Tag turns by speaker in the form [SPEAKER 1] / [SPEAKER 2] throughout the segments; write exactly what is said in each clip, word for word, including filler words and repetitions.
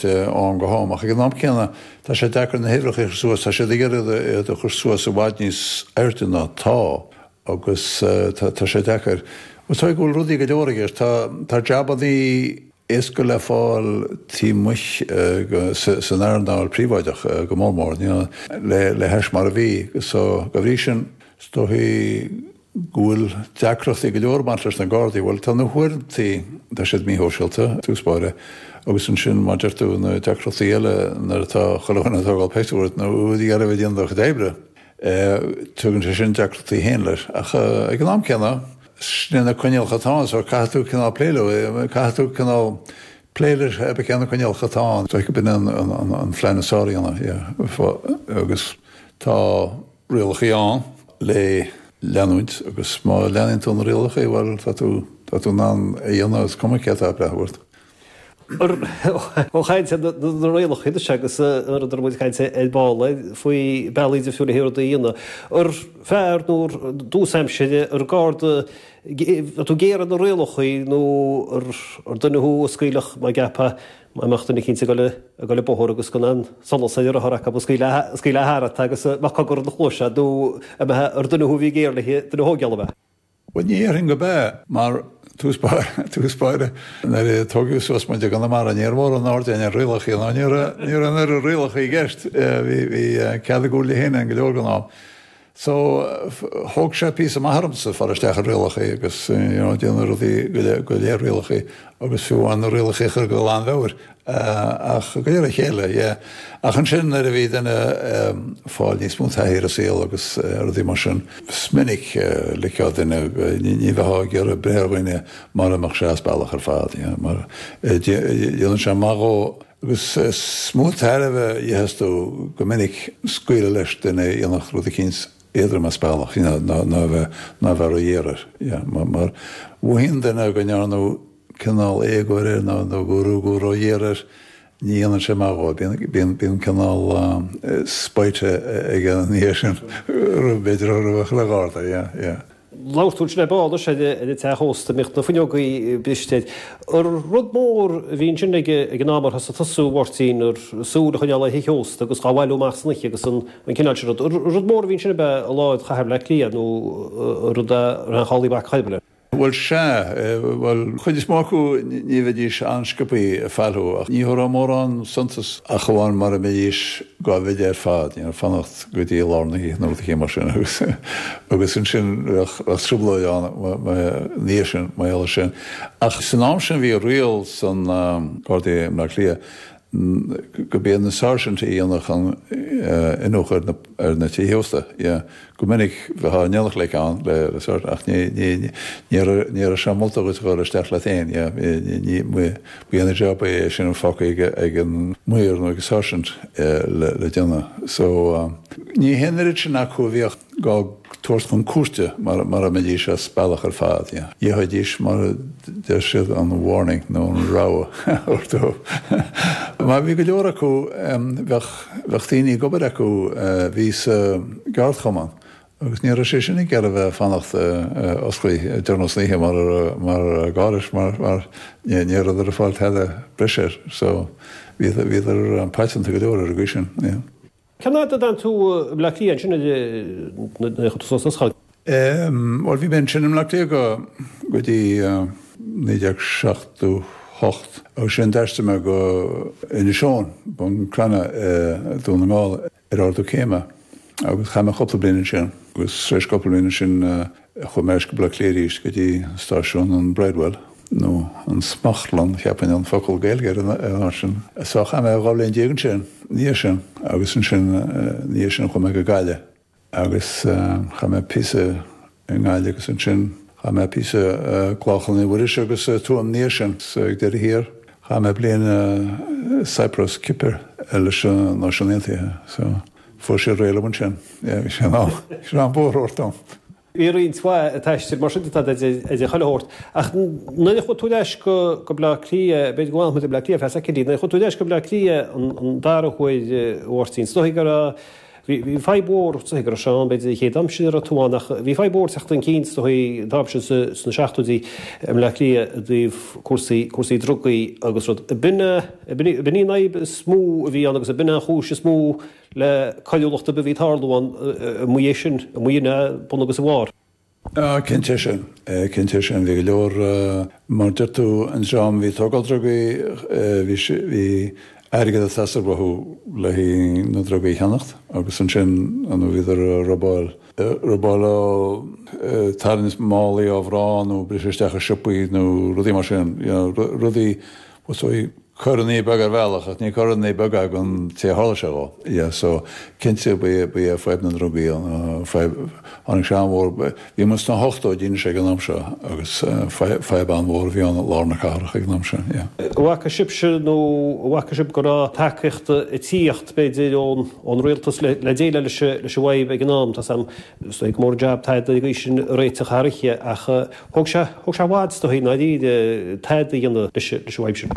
[SPEAKER 1] ó am go ham, ach ag an am céanna tá sé deacair na huimhreacha a chur suas, tá siad ag iarraidh iad a chur suas i bhfad níos airde ná tá agus tá sé deacair. Is dóigh go bhfuil rudaí go leor i gceist, tá tá jabannaí éasca le fáil taobh amuigh san earnáil príobháideach go mór mór le le hais mar a bhí so dá bhrí sin is dóigh go bhfuil deacrachtaí go leor ag baint leis na Gardaí. Bhuel tá na huaireantaí, tá siad míshóisialta, i dtús báire, agus ansin mar deir tú na deacrachtaí eile nuair atá chuile dhuine ag tógáil pictiúr ort nó ag iarraidh a bheith ag déanamh do chuid oibre. Tugann sé sin deacrachtaí féin leis. Ach ag an am céanna, sin na coinníollacha atá ann so caithfidh tú cineál plé leo, caithfidh tú cineál plé leis pé cé na coinníollacha atá ann. Is dóigh gurb in an an phlean is fearr a dhéanamh, yeah. Agus tá rialacha ann le leanúint agus má leanann tú na rialacha, bhuel tá tú tá tú in ann a dhéanamh is cuma cé atá ag breathnú ort.
[SPEAKER 2] Ó chaint ar na rialacha anois agus an rud a raibh muid ag caint ar ball faoi bealaí difriúla le rudaí a dhéanamh. Ar fear nó i dtús aimsire ar garda tú géar ar na rialacha nó ar duine thú a scaoilfeadh mar gceapfá má mbeadh duine eicínt ag dul ag dul an bóthar agus gan an solas ar a rothar acu a scaoilfeá thart agus mbeadh cogar ina chluais nó ar duine thú a bhí géar le duine a thógáil ab ea?
[SPEAKER 1] Bhuel, ní dhéarfainn go b'ea, mar tús báire, tús báire, nuair a tógadh suas muid i gConamara, ní raibh mórán aird againn ar rialacha, nó ní raibh, ní raibh an oiread rialacha i gceist, bhí, bhí cead a gcúil féin againn go leor den am. So, thóg sé píosa maith ormsa fáil isteach ar rialacha agus, you know, déanamh rudaí go léir, go léir rialacha agus fiú amháin na rialacha a chur go lánmheabhair. Ach de réir a chéile, yeah. Ach ansin nuair a bhí duine ag fáil níos mó taithí ar an saol agus rudaí mar sin, is minic ligfeá duine, ní bheifeá ag iarraidh breith ar dhuine mura mbeadh sé as bealach ar fad, yeah, mar déanann sé maith dhó agus is mó tairbhe a gheobhas tú go minic scaoileadh leis duine a dhéanfadh rud eicínt éadrom as bealach, you know, ná ná bheith ná bheith ró-ghéar air, yeah, mar mar mhothaíonn duine go ndearnadh cineál éagóir air nó nó go rugadh ró-ghéar air, ní dhéanann sé maith dhó. Bíonn bíonn cineál spite aige ina dhiaidh sin, b'fhéidir roimh chuile gharda, yeah, yeah.
[SPEAKER 2] Labhair tú ansin ar ball anois ar an teach ósta, a mbíodh na fuinneogaí briste air. Ar rud mór a bhí ansin ag an am ar thosaigh tusa, a Mháirtín, ar súil a choinneáil ar thithe ósta agus dhá bhailiú amach san oíche agus an cineál sin rud. Ar rud mór a bhí ansin ab ea i lár chathair Bhaile Átha Cliath nó rud a raibh an chabhlaigh bac choirbe leis?
[SPEAKER 1] Bhuel, sea. Bhuel, chuid is mó acu ní bheidís an-sciobthaí ag fáil thú, ach ní thabharfá mórán suntas ach amháin mura mbeidís dhá mhide ar fad, you know, fanacht go dtí lár na hoíche nó rud eicínt mar sin agus agus ansin bheadh bheadh trioblóid ann ina dhiaidh sin, mar gheall air sin. Ach san am sin bhí riail san Gardaí i mBleá Cliath go mb'iad na sáirsint a dhéanfadh an iniúchadh ar na tithe ósta. Yeah. Go minic bheifeá in éineacht like ann le sáirsint ach ní ní ní raibh ní raibh sé molta dhuit a dhul isteach leat féin. Yeah. Ní ba é an job é sin fágtha ag ag an maor nó ag an sáirsint le le déanamh. So ní hé an oiread sin acu a bhíodh dhá dtabhairt chun cúirte mura mbeidís as bealach ar fad. Gheobhaidís, mar a deir siad, an warning nó an rabhadh a thabhairt dóibh. Mar bhí go leor acu, bheadh daoine ag obair acu a bhí sa gceardchumann agus ní raibh sé sin ag iarraidh a bheith ag fanacht oscailte deireanach san oíche mar mar gá leis mar ní rabhadar ag fáil tada breise air. So bhíodar paiteanta go leor ar an gcaoi sin.
[SPEAKER 2] Cén fhad a d'fhan tú i mBleá Cliath ansin nuair a chuaigh tú suas an scoil?
[SPEAKER 1] Bhuel, bhí mé ansin i mBleá Cliath go go dtí naoi déag seachtó hocht agus ansin d'aistrigh mé go Inis Eoghain, Bun Cranncha i Dún na nGall ar ardú céime agus chaith mé cúpla bliain ansin agus tar éis cúpla bliain ansin Chuaigh mé ar ais go Baile Átha Cliath arís go dtí stáisiún an Bridewell, nó an Smachtlann, cheapfainn an focal Gaeilge ar an áit sin. So chaith mé dhá bhliain déag ansin, ina dhiaidh sin, agus ansin ina dhiaidh sin chuaigh mé go Gaillimh agus chaith mé píosa i nGaillimh agus ansin chaith mé píosa i gClochán Naomh Muiris agus i Tuaim ina dhiaidh sin. So ag deireadh thiar chaith mé bliain i Cyprus, Cipir, leis na Náisiúin Aontaithe. So fuair siad réidh liom ansin. Yeah, bhí sé in am, bhí sé in am bóthar a thabhairt dom.
[SPEAKER 2] Bhí roinnt mhaith taistil mar sin déanta agat ag chuile shórt. Ach nuair a chuaigh tú ar ais go Baile Átha Cliath, b'fhéidir go bhfanfaidh muid i mBleá Cliath ar feadh soicindí, nuair a chuaigh tú ar ais go Baile Átha Cliath an dara huair, a Mháirtín, is dóigh go raibh Bhí fadhb mhór is dóichí go raibh sé ann b'fhéidir an chéad am sin a raibh tú ann ach bhí fadhb mhór teacht chun cinn is dóichí an t-am sin sna seachtóidí i mBleá Cliath i dtaobh cúrsaí cúrsaí drugaí agus rud. B'in b'in í an fhadhb is mó a bhí ann agus b'in an chúis is mó le coiriúlacht ar bith a bhí ag tarlú ann amuigh é sin amuigh ina bun agus a bharr.
[SPEAKER 1] Ah, cinnte sin, cinnte sin. Bhí go leor, mar deir tú, an dream a bhí ag tógáil drugaí, bhí bhí airgead ag teastáil uathu le haghaidh na drugaí a cheannacht agus ansin nó bhíodar ag robáil, robáil ó, tarraingt málaí ó mhná nó briseadh isteach i siopaí nó rudaí mar sin, you know, rudaí, so coireanna beaga ar bhealach ach ní coireanna beaga don té a tharla sé dhó. Yeah, so cinnte ba é ba é fadhb na ndrugaí an fadhb tháinig sé an-mhór bhí muid sna hochtóidí anois ag an am seo agus fadhb an-mhór a bhí ann i lár na cathrach ag an am sin, yeah.
[SPEAKER 2] An bhfaca sibhse nó an bhfaca sibh go raibh tacaíocht ag tíocht b'fhéidir ón ón rialtas le le déileáil leis leis an bhfadhb ag an am? Tá 's a'm is dóigh go mór an jab tada ag sin a réiteach thar oíche ach thóg sé thóg sé i bhfad is dóigh i ndáiríre tada a dhéanamh leis leis an bhfadhb sin.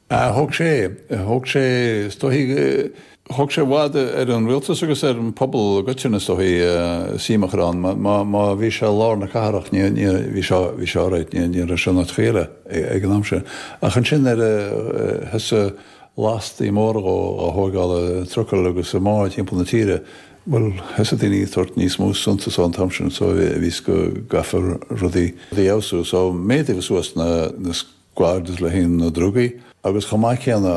[SPEAKER 1] Thóg sé, thóg sé, is dóichí, thóg sé i bhfad ar an rialtas agus ar an pobal i gcoitinne is dóichí suim a chur ann. Má, má bhí sé i lár na cathrach ní, ní, bhí sé, bhí sé alright, ní, ní raibh sé in áiteachaí eile ag an am sin. Ach ansin nuair a thosaigh lastaí móra á thógáil i trucail agus i mbáid timpeall na tíre, bhuel, thosaigh daoine ag tabhairt níos mó suntais an t-am sin so bhí 's go gcaithfear rudaí a fheabhsú. So méadaíodh suas na, na squads le haghaidh na drugaí agus chomh maith céanna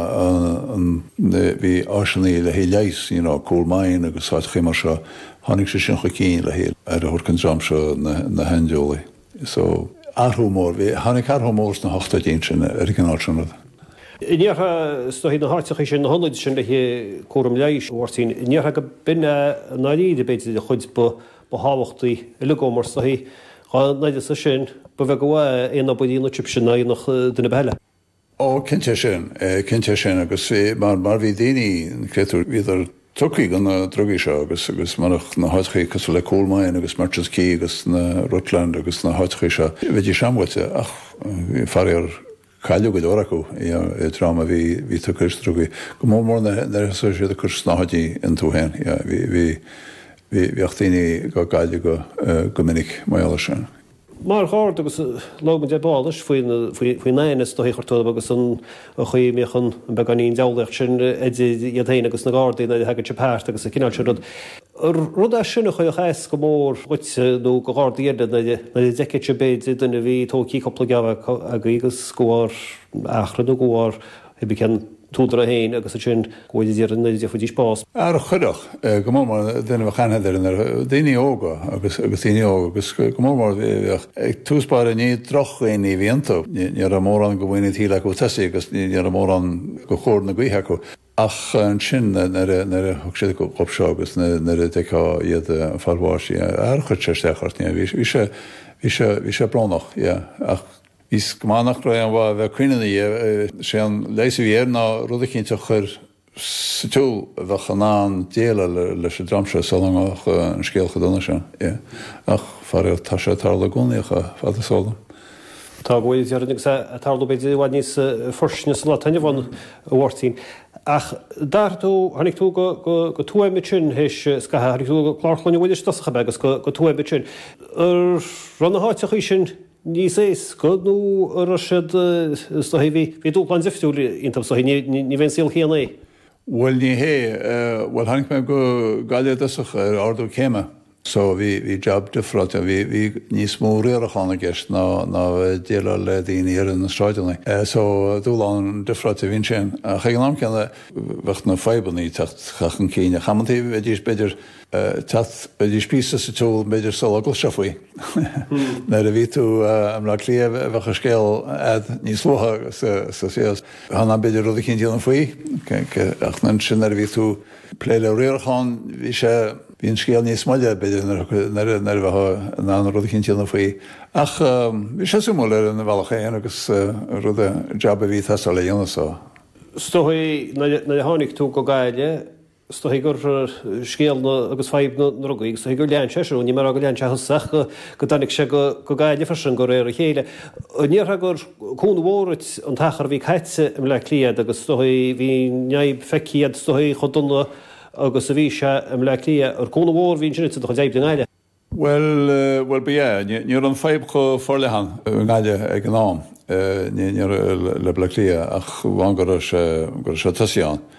[SPEAKER 1] an bhí áiseanna le haghaidh leighis, you know, Coolmine agus áiteachaí mar seo, tháinig sé sin chun cinn le haghaidh aire a thabhairt don dream seo na na haindeolaí. So athrú mór, bhí, tháinig athrú mór sna hochtóidí ansin ar an gcineál sin rud.
[SPEAKER 2] An ndéarfá is dóichí na háiteachaí sin, na hionaid sin le haghaidh cúram leighis, a Mháirtín, an ndéarfá go b'in é i ndáiríre b'fhéidir an chuid ba ba thábhachtaí uilig mar is dóichí dhá n-uireasa sin ba bheag an mhaith aon obair a dhéanfadh sibhse ná a dhéanfadh duine ar bith eile.
[SPEAKER 1] Ó, cinnte sin, cinnte sin agus mar mar bhí daoine, créatúir, bhíodar tugtha do na drugaí seo agus agus murach na háiteachaí cosúil le Coolmine agus Merchants Quay agus na Rutland agus na háiteachaí seo, bheidís an-bhuailte ach faraor cailleadh go leor acu i dream a bhí bhí tugtha leis na drugaí. Go mór mór nuair a thosaigh siad ag cur snáthaidí iontu féin, bhí bhí bhí bhíodh daoine á gcailleadh go go minic mar gheall air sin.
[SPEAKER 2] Mar gharda agus labhair muid ar ball anois faoin aithne is dóichí a chuirtear orthu agus an chaoi a mbíodh an beagáinín diabhlaíocht sin idir iad féin agus na Gardaí nuair a thagann sibh thart agus an cineál sin rud. Rud é sin a chuirfeadh as go mór dhuit nó do Ghardaí eile nuair a d'fheicfeadh sibh b'fhéidir duine a bhí tógtha cúpla geábh agaibh agus de bharr achrainn nó de bharr cibé cén t-údar é féin agus ansin go bhfuil idir nuair a d'fhéadfaidís bás.
[SPEAKER 1] Ar chuirfeadh, go mór mór duine a bheadh aithne air ar daoine óga agus agus daoine óga agus go mór mór bheadh ag tús báire ní drochdhaoine a bhí iontu, ní raibh mórán de mhaoin an tsaoil acu tosaigh agus ní raibh mórán de chóir na gaoithe acu. Ach ansin nuair a thug siad dhóibh seo agus nuair a d'fheicfeá iad ag fáil bháis, ar chuir sé isteach ort, bhí sé bhí sé bhí sé brónach, yeah, ach Bhí 's go maith nach raibh aon mhaith a bheith ag caoineadh ina dhiaidh. Sé an leigheas a bhí air ná rud eicínt a chur sa tsiúl a bheadh in ann déileáil leis an dream seo sula mbeadh an scéal chomh dona sin. Yeah. Ach, faraor, tá sé ag tarlú i gcónaí chomh fada is eol dom.
[SPEAKER 2] Tá go bhfuil, déarfainn, agus é ag tarlú b'fhéidir i bhfad níos forsinne sa lá atá inniu ann, a Mháirtín. Ach d'athraigh tú, tháinig tú go, go, go Tuaim ansin théis scaitheamh, tháinig tú go Clár Chlainne Mhuiris i dtosach ab ea agus go, go Tuaim ansin. An raibh na háiteachaí sin níos éasca nó an raibh siad, is dóichí, bhí, bhí dúshlán difriúil iontu, is dóichí, ní, ní bheidh an saol céanna é.
[SPEAKER 1] Bhuel, ní hé. Bhuel, tháinig mé go Gaillimh i dtosach ar ardú céime so bhí, bhí job difreáilte, bhí, bhí níos mó riarachán i gceist ná, ná bheith ag déileáil le daoine ar na sráideanna. So dúshlán difreáilte a bhí ansin. Ach ag an am céanna bheadh na fadhbanna ag teacht chun cinn ach amantaí bheidís b'fhéidir, teacht, bheidís píosa sa tsiúl b'fhéidir sula gcloisfeá faoi. Nuair a bhí tú i mBleá Cliath bheadh an scéal a'd níos luaithe sa saol. Bheifeá in ann b'fhéidir rud eicínt a dhéanamh faoi ach ansin nuair a bhí tú ag plé le riarachán bhí sé, bhí an scéal níos moille b'fhéidir nuair a bheifeá in ann rud eicínt a dhéanamh faoi. Ach bhí sé suimiúil ar an bhealach féin agus rud, jab a bhí ag teastáil a dhéanamh so.
[SPEAKER 2] Is dóigh nuair a tháinig tú go Gaillimh, Is dóigh gur scéal na agus fadhb na ndrugaí, is dóigh gur lean sé sin, ní mé a rá gur lean sé thusa ach go dtáinig sé go Gaillimh freisin de réir a chéile. An ndéarfá gur cúnamh mhór duit an t-achar a bhí caite i mBleá Cliath agus is dóigh bhí an fhadhb feicthe agat is dóigh chomh dona agus a bhí sé i mBleá Cliath ar cúnamh mhór a bhí ansin do chuid oibre i nGaillimh.
[SPEAKER 1] Well, well b'ea, ní raibh an fadhb chomh forleathan i nGaillimh ag an am ní le Bleá Cliath ach amháin go raibh sé go raibh sé tosaithe ann.